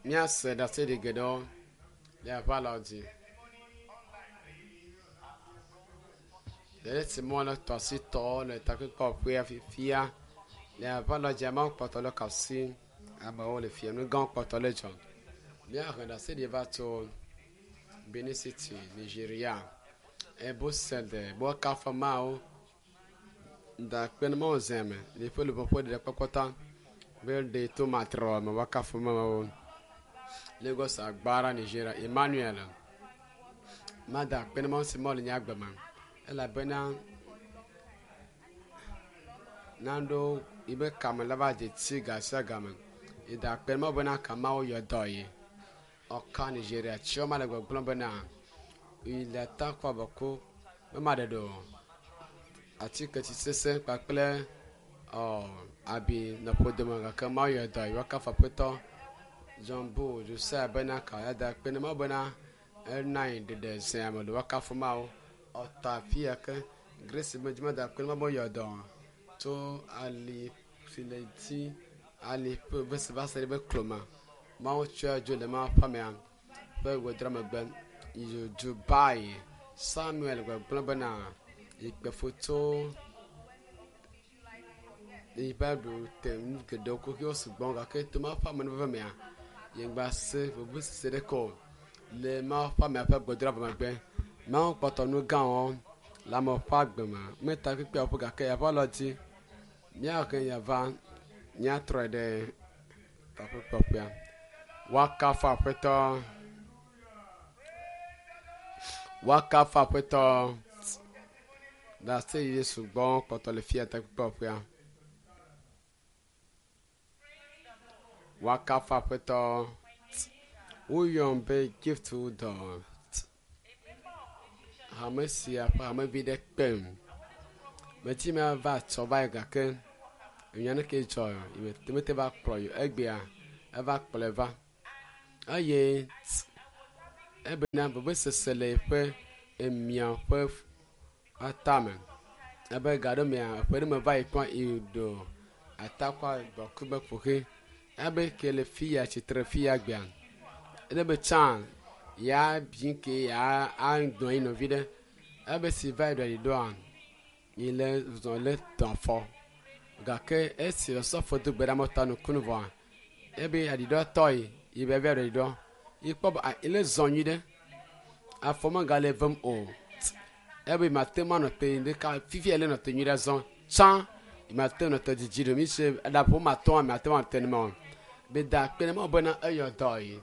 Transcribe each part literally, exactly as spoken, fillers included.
Míase ɖaseɖi geɖewo le aʋalɔ dzi. Le esi mɔ le tɔ asi tɔwo le takpekpeƒea fifia le aʋalɔ dzi amewo kpɔtɔ le kasi amewo le fia nu gãwo kpɔtɔ le dzɔ. Míahe ɖaseɖi va tso Benin City, Nigeria. Ebosede bɔkafɔmawo da kpe ne mawo zɛme le ƒe luʋɔ ƒe ɖeɖekpɔkpɔ ta be ɖe to matrɔ me wakafɔmawo. Lagos Agbara, Nigeria. Emmanuel mada akpe ne mawo si mɔ le nye agbe me elabena naɖewo yibe kame la va dze tsi ga sia game. Eda akpe ne mawo bena kamawo yɔ dɔ ye. Ɔka Nigeria tsiɔ ma le gbɔgblɔm bena yi le takɔ bɔko be ma ɖeɖe o. Atike tsi sese kpakple ɔ abi nɔ ƒodome gake mawo yɔ dɔ ye woakafu aƒetɔ John Bull Josiah bena ka eda akpe ne mawo bena ena yi ɖeɖe zea me le woakafu mawo. Ɔtɔ afi ya ke Grace be dzime da akpe ne mawo be yɔ dɔ tso ali si le dzi ali ƒe vese va se ɖe be klome. Mawo tsɔe dzo le mawo ƒe amea ƒe godra megbe yi Dubai. Samuel gbɔgblɔ bena yi kpe foto yi va ɖo te nu geɖewo kuxiwo sugbɔ gake to mawo ƒe amenuveve mea yegba se vevesese ɖeke o le mawo ƒe amea ƒe gbedra vɔ megbe. Mawo kpɔtɔ nu gãwo le ame ƒe agbe me meta kpekpeawo ƒe gake yaƒe alɔ dzi míahe yava míatrɔe ɖe takpekpeƒea. Woakafu aƒetɔ. Woakafu aƒetɔ. Ɖase Yesu gbɔ kpɔtɔ le fia takpekpeƒea. Woakafu aƒetɔ. Woyɔm be Gift dɔ. Hame sia ƒe hamevi ɖe kpem. Meti me va tsɔ va yi gake enya ne ke dzɔ mete va kplɔ yi egbea eva kplɔe va eye ebena vevesese le eƒe emia ƒe atame ebe ga ɖe mea eƒe ɖe me va yi kpɔ yi ɖo atakɔ gbɔku be ƒoxe ebe ke le fi ya tsitre fi ya gbea ene be tsã ya bi ke ya anɔ yi nɔvi ɖe ebe si va yi ɖo yi ɖoa yi le zɔ le tɔ afɔ gake esi osɔfo do gbe ɖe amewo ta nukunu vɔa ebe aɖiɖɔ tɔ yi yi be ebe aɖiɖɔ yi kpɔ be ele zɔ nyui ɖe afɔ megale vem o ebe mate ŋu anɔ te ɖeka fifia ele nɔ te nyui ɖe zɔ tsã mate nɔ te dzidzi ɖo mi se eɖaƒo ma tɔa mate ŋu anɔ te nema o be da akpe ne mawu bena eyɔ dɔ yi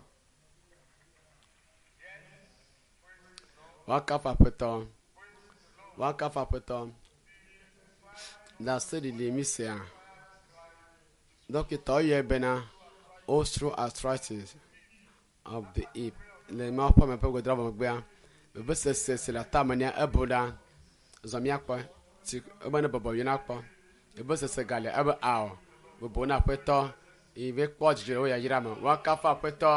woakafu aƒetɔ woakafu aƒetɔ ɖaseɖiɖi mi sea dɔkita woyɔe bena osteoarthritis of the hip le mawu ƒe ame ƒe godra vɔ megbea vevesese si le atame nea ebu ɖa zɔ míakpɔ si ebe ne bɔbɔ yina kpɔ vevesese gale ebe ao bubu na aƒetɔ yi be kpɔ dzidzɔ le wo yayra me woakafu aƒetɔ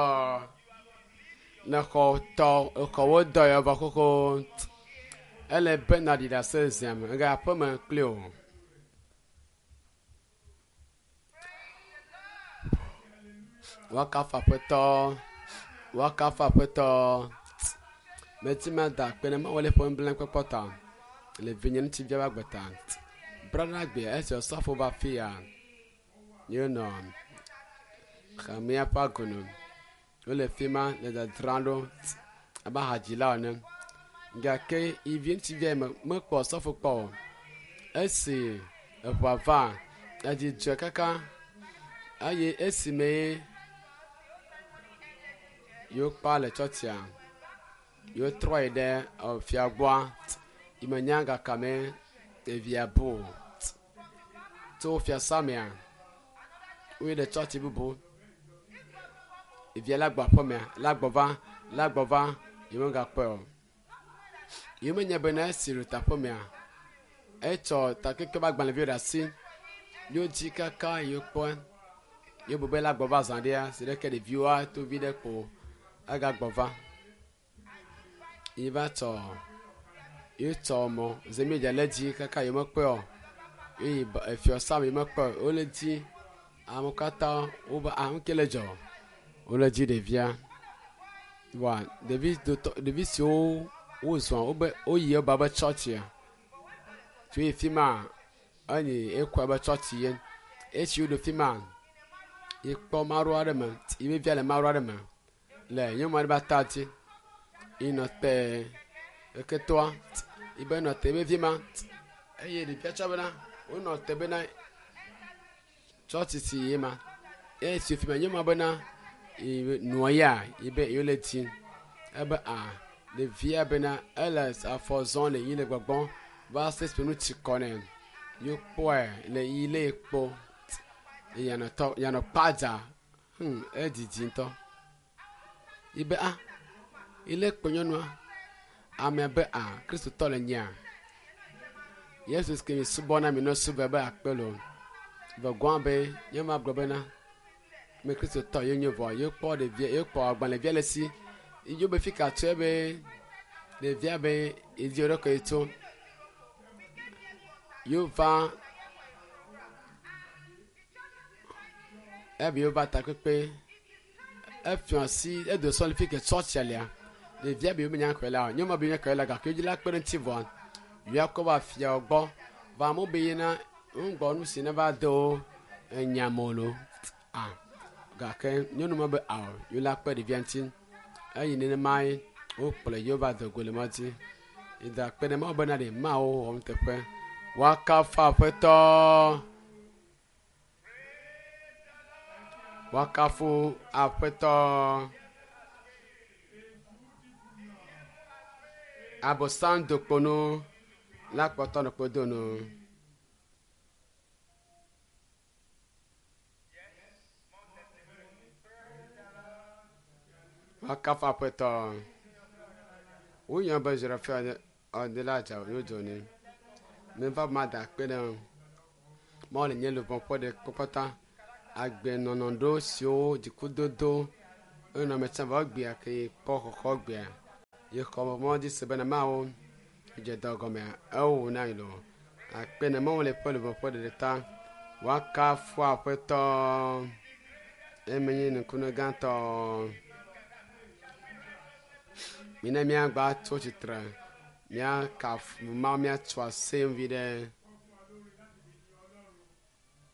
ne xɔ tɔ exɔwo dɔ yɔ vɔ xoxo ele be naɖi ɖase zia me ega aƒeme kpli o. Woakafu aƒetɔ woakafu aƒetɔ meti ma da akpe ne mawu le ƒe nublanui ta le vinye ŋutsuvia ƒe agbe ta. Brada gbea esi osɔfo va fi ya yenɔ hamea ƒe agonu wole fi ma le dzadzram ɖo abe hadzila ene gake ivi ŋutsuvia me mekpɔ osɔfo kpɔ o. Esi eʋua va edzidzɔe kaka eye esime yewo kpa le tsɔtsia yewotrɔ yi ɖe efia gbɔa yi menya gakame ɖevia bu o. Tso fiasa mea woyi ɖe tsɔtsi bubu ɖevia la gbɔ aƒemea la gbɔ va la gbɔ va yi megakpɔe o. Yi menye bena esi ɖo teƒemea etsɔ takeke ƒe agbalẽviwo ɖe asi yewo dzi kaka yewo kpɔe yewo bu be la gbɔ va zã ɖea si ɖeke ɖeviwoa to vi ɖe kpo agagbɔ va yi va tsɔ yewo tsɔ mɔ zemidza le dzi kaka yewo mekpɔe o eye efiɔsa me mekpɔe o wole dzi amewo katã wobe ah nu ke le dzɔ Wole dzi ɖevia. Wa ɖevi dotɔ ɖevi siwo wozɔ wobe woyi eba be tsɔtsia. Tso yi fi ma enyi ekɔ be tsɔtsi ye. Esi woɖo fi ma yekpɔ maɖo aɖe me yi via le maɖo aɖe me le nyɔnu aɖe be ata dzi. Yi nɔ te eketoa yibe nɔ te vevi ma eye ɖevia tsɔ bena wonɔ te bena tsɔtsi si ye ma. Eye si fi ma nyɔnua bena nua ya yibe yewo le dzi ebe a ɖevia bena ele afɔ zɔm le yi le gbɔgbɔm va se esime nu tsi kɔ nɛ. Yekpɔe le yi le kpɔ yanɔ tɔ yanɔ kpadza hmm edidi ŋutɔ. Yibe a ile kpɔ nyɔnua amea be a kristotɔ le nyea. Yesu ke mi subɔna mi nɔ subɔe be akpe lo. Vɔ be nyɔnua gblɔ bena me kristotɔ ye nye vɔ yekpɔ ɖevia yekpɔ agbalẽvia le si. Idzo be fi ka tso ebe ɖevia be edzi ɖe tso. Yova ebe yova takpekpe efiɔ asi edo sɔ le fi ke tsɔtsia lea. Ɖevia be menya xɔe la nyɔnua be nya xɔe la gake dzi la kpe ɖe ŋuti vɔa yɔakɔ va fiawo gbɔ va amewo be yina ŋgbɔ nu si ne va do enyame lo a gake nyɔnu ma be ao yewo la kpe ɖevia ŋuti eye nenema ye wokplɔe yewo va do go le mɔ dzi. Eda kpe ɖe Mawu bena ɖe Mawu wɔ nuteƒe. Woakafu Aƒetɔ. Woakafu Aƒetɔ. Abosam do kpo nu la kpɔtɔ nɔ kpo do nu. Woakafu Aƒetɔ. Woyɔ be Zerafia ɔde la dza yodzo ne. Meva ma da akpe ɖe Mawu le nye luʋɔ ƒe ɖe kpɔkpɔta. Agbenɔnɔ ɖo siwo dzikudodo enɔ me tsã va gbea ke kpɔ xɔxɔ gbea. Ye xɔ mɔ dzi se bena Mawu dze dɔ gɔmea ewo na yi lo. Akpe ne Mawu le ƒe luʋɔ ƒe ɖeɖe ta. Woakafu Aƒetɔ. Eme nye nukunu gãtɔ. Mina míagba tso tsitre míakafu Mawu míatso asem vi ɖe.